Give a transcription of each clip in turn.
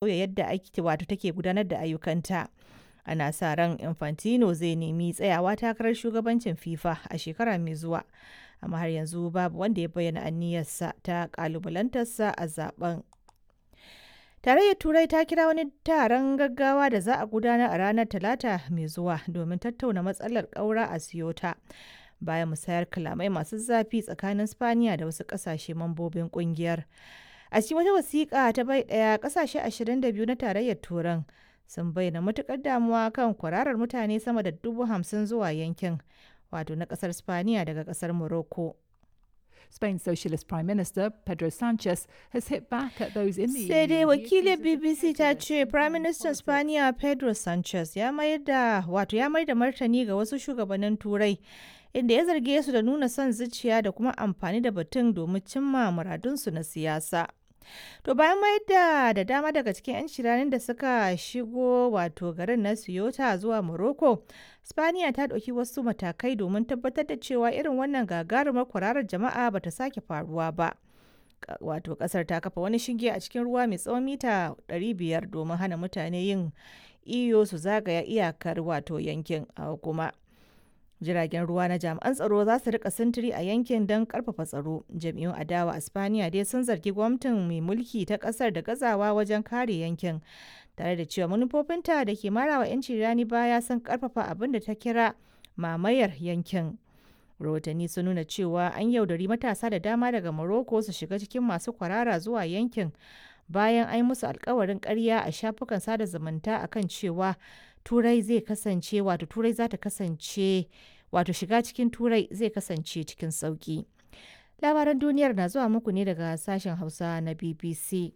Sauya yadda ake wato take gudanar da ayyukanta. Ana sa ran Infantino zai nemi tsayawa takarar shugabancin FIFA a shekara mai zuwa, amma har yanzu babu wanda ya bayyana aniyarsa ta kalubalantarsa a zaben. Tarayyar Turai ta kira wani taron gaggawa da za a gudanar a ranar Talata mai zuwa domin tattauna matsalar ƙaura a Ceuta, bayan musayar kalamai masu zafi tsakanin Spaniya da wasu ƙasashe mambobin ƙungiyar. A cikin wata wasiƙa ta bai ɗaya, ƙasashe 22 na Tarayyar Turan sun bayyana matuƙar damuwa kan kwararar mutane sama da 50,000 zuwa yankin, wato na ƙasar Spaniya daga ƙasar Morocco. Spain's Socialist Prime Minister Pedro Sanchez has hit back at those in the Sai dai EU who wakilin accuse it of BBC ta prejudice ce and Prime playing Minister politics. Spaniya Pedro Sanchez ya mayar da wato ya mayar da martani ga wasu shugabannin Turai inda ya zarge su da nuna son zuciya da kuma amfani da batun domin cimma muradunsu na siyasa. To bayan mayar da dama daga cikin 'yan shiranin da suka shigo wato garin na Ceuta zuwa Morocco, Spaniya ta ɗauki wasu matakai domin tabbatar da cewa irin wannan gagarumar kwararar jama'a bata sake faruwa ba. Wato kasar ta kafa wani shinge a cikin ruwa mai tsawon mita 500 domin hana mutane yin iyo su zagaya iyakar wato yankin a kuma jiragen ruwa na jami'an tsaro za su rika sintiri a yankin don karfafa tsaro. Jam'iyyun adawa a Spaniya dai sun zargi gwamnatin mai mulki ta kasar da gazawa wajen kare yankin, tare da cewa manufofinta da ke marawa 'yanci rani baya sun karfafa abin da ta kira mamayar yankin. Rahotanni sun nuna cewa an yaudari matasa da dama daga Morocco su shiga cikin masu kwarara zuwa yankin bayan an yi musu alkawarin karya a shafukan sada zumunta akan cewa Turai zai kasance wato Turai za ta kasance wato shiga cikin Turai zai kasance cikin sauki. Labaran duniyar na zuwa muku ne daga sashen Hausa na BBC.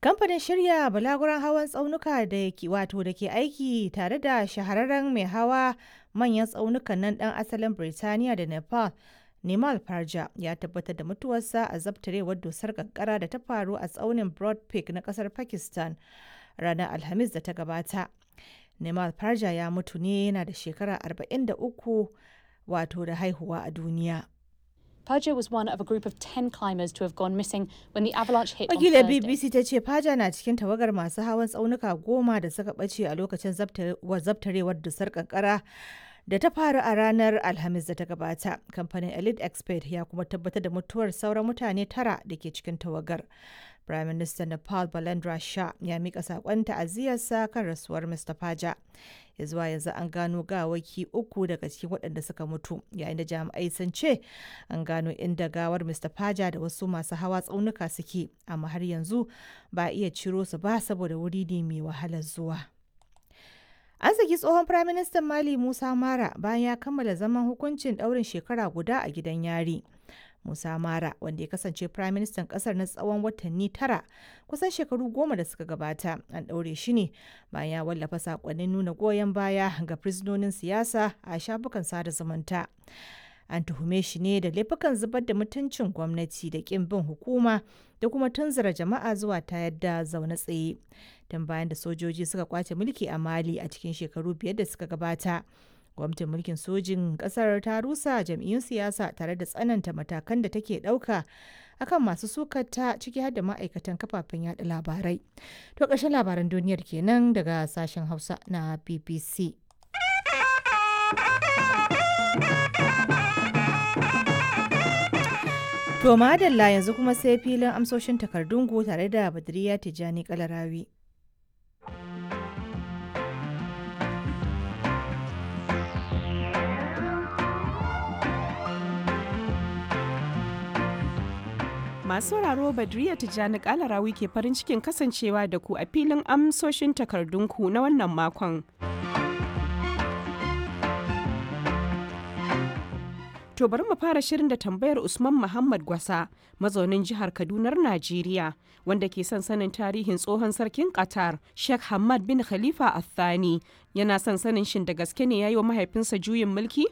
Kamfanin shirya balaguran hawan tsaunuka da ke wato da ke aiki tare da shahararren mai hawa manyan tsaunukan nan dan asalin Birtaniya da Nepal, Nimal Parja, ya tabbatar da mutuwarsa a zabtarewar dusar kankara da ta faru a tsaunin Broad Peak na kasar Pakistan ranar Alhamis da ta gabata. Nimal Parja ya mutu ne yana da shekara 43 wato da haihuwa a duniya. Perja was one of a group of 10 climbers to have gone missing when the avalanche hit on Wakilar Thursday. BBC ta ce Faja na cikin tawagar masu hawan tsaunuka 10 da suka ɓace a lokacin zabtarewar dusar kankara da ta faru a ranar Alhamis da ta gabata. Kamfanin Elite Expert ya kuma tabbatar da mutuwar sauran mutane tara da ke cikin tawagar. Prime Minister Nepal Balendra Shah ya mika saƙon ta'aziyarsa kan rasuwar Mr. Faja. Ya zuwa yanzu an gano gawaki uku daga cikin waɗanda suka mutu, yayin da jami'ai sun ce an gano inda gawar Mr. Faja da wasu masu hawa tsaunuka suke, amma har yanzu ba a iya ciro su ba saboda wuri ne mai wahalar zuwa. An saki tsohon Firaministan Mali Musa Mara bayan ya kammala zaman hukuncin ɗaurin shekara guda a gidan yari. Musa Mara, wanda ya kasance Firaministan ƙasar na tsawon watanni 9 kusan shekaru 10 da suka gabata, an ɗaure shi ne bayan ya wallafa saƙonnin nuna goyon baya ga fursunonin siyasa a shafukan sada zumunta. An tuhume shi ne da laifukan zubar da mutuncin gwamnati da ƙin bin hukuma da kuma tunzura jama'a zuwa tayar da zaune tsaye. Tun bayan da sojoji suka kwace mulki a Mali a cikin shekaru 5 da suka gabata, gwamnatin mulkin sojin kasar ta rusa jam'iyyun siyasa tare da tsananta matakan da take ɗauka akan masu sukata, ciki har da ma'aikatan kafafen yada labarai. To ƙarshen labaran duniyar kenan daga sashen Hausa na BBC. To madalla, yanzu kuma sai filin amsoshin takardun ku tare da Badriya Tijjani Kalarawi. Masu sauraro, Badriya Tijjani Kalarawi ke farin cikin kasancewa da ku a filin amsoshin takardunku na wannan makon. To bari mu fara shirin da tambayar Usman Muhammad Gwasa, mazaunin jihar Kadunar Najeriya, wanda ke son sanin tarihin tsohon sarkin Qatar, Sheikh Hamad bin Khalifa Al-Thani. Yana son sanin shin da gaske ne ya yi wa mahaifinsa juyin mulki?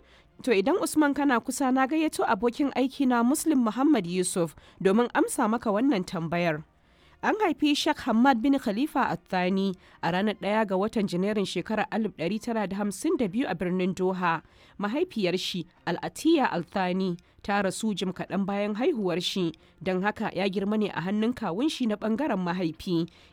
To idan Usman kana kusa, na gayyato abokin aiki na Muslim Muhammad Yusuf domin amsa maka wannan tambayar. An haifi Sheikh Hamad bin Khalifa Al-Thani a ranar 1 ga watan Janairun shekarar 1952 a birnin Doha. Mahaifiyar shi Al-Atiya Al-Thani ta rasu jim kaɗan bayan haihuwar shi, don haka ya girma ne a hannun kawun shi na ɓangaren mahaifi.